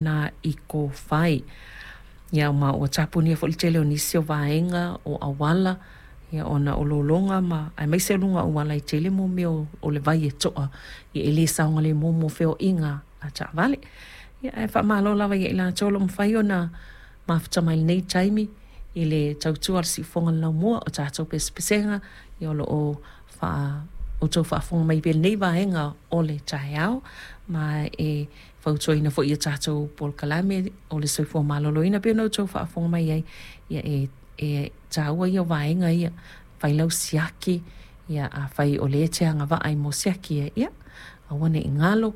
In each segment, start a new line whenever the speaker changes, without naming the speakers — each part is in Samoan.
Na i Kōwhai. Ia ma ua tapunia foi le tele o nisi o vaega o auala ia ona o lologa ma aemaise o luga o auala e tele mo mea o le vai e to'a ia e le saogalemu mo feoaiga a taavale. Ia ae faamalo lava ia i latou o lo o mafai ona mafuta mai i lenei taimi i le tautua a le siufofoga o le laumua o tatou pesepesega ia o lo o faa outou faafofoga mai pea i lenei vaega o le taeao ma e fautuaina foi i a tatou polokalame o le soifua maloloina pei ona outou faafofoga mai ai, ia e, e taua ia o vaega ia, fai lau siaki, ia afai o lea e te agavaa i mo siaki ia, ia aua ne i galo,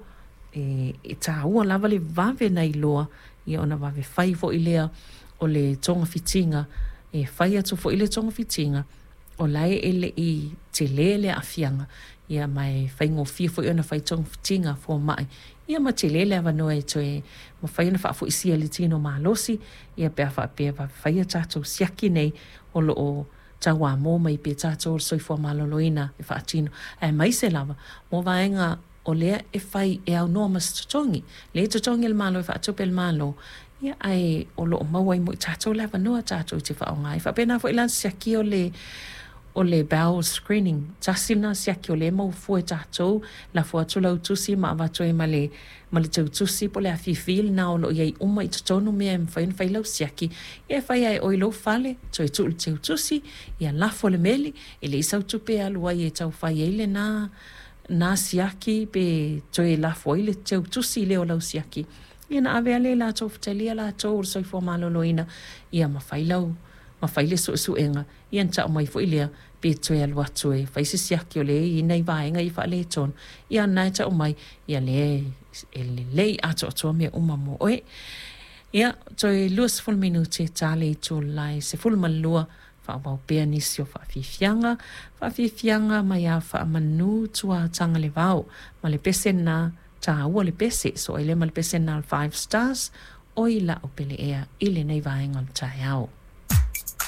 e, e taua lava le vave ona iloa, ia ona vave fai foi lea o le togafitiga, e fai atu foi le togafitiga, o la e le i tele le aafiaga, ia ma e faigofie foi ona fai togafitiga a fomai, ia ma tele le avanoa e toe mafai ona faafoisia le tino malosi, ia pe a faapea e vave fai a tatou siaki nei o lo o tauamo mai pea tatou o le soifua maloloina e faatino, aemaise lava mo vaega o lea e fai e aunoa ma se totogi. Lea e totogi e le Malo e faatupe e le Malo, ia ae o lo o maua ai mo i tatou le avanoa tatou te faaaoga ai. E faapena foi la le siakia o le o le bowel screening, tasi lena siaki o lea e maua fua e tatou, lafo atu lau tusi ma avatu ai ma le ma le teutusi po o le afifi lena o lo o i ai uma i totonu mea e mafai ona fai lau siaki, ia e fai lava e oe i lou fale, toe tuu i le teutusi, ia lafo le meli, e leai sau tupe e alu ai e tau fai ai lena na siaki pe toe lafo ai le teutusi lea o lau siaki, ia ona ave lava lea i latou ua talia latou o le soifua maloloina, ia ma fai lau ma fai le suesuega, ia ona tau mai foi lea pe toe alu atu e fai se siaki o lea e i ai nai vaega ia e faaletonu, ia o lena e tau mai, ia lea e lelei atoatoa mea uma mo oe. Ia, toe 20 minute ta le itula e 12 faaauau pea nisi o faafiafiaga, faafiafiaga mai a faamanu Tuatagalevao ma le pese lena taua le pese so ai lea ma le pese lena o le Five Stars oi la'u pele ea i lenei vaega o le taeao.